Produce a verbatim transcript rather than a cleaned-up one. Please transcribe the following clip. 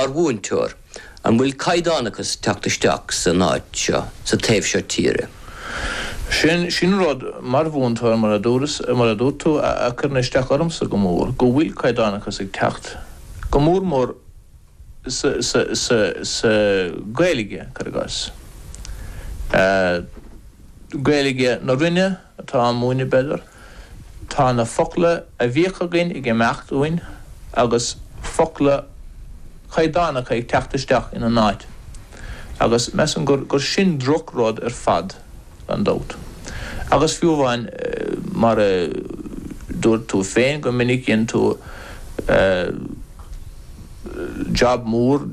Mar mhúinteoir, an bhfuil caighdeánachas ag teacht isteach san áit seo sa taobh seo tíre. Sin sin rud mar mhúinteoir mar a dúras mar a dúirt tú a chuireann isteach ormsa go mór, go bhfuil caighdeánachas ag teacht go mór mór sa sa sa sa Gaeilge cuir i gcás. Gaeilge na Rinne atá á múineadh b'fhéidir, tá na focla a bhíodh againn ag imeacht uainn agus focla caighdeánacha ag teacht isteach ina n-áit. Agus measaim gur gur sin drochrud ar fad gan dabht. Agus fiú amháin mar a dúirt tú féin go minic dhein tú job mór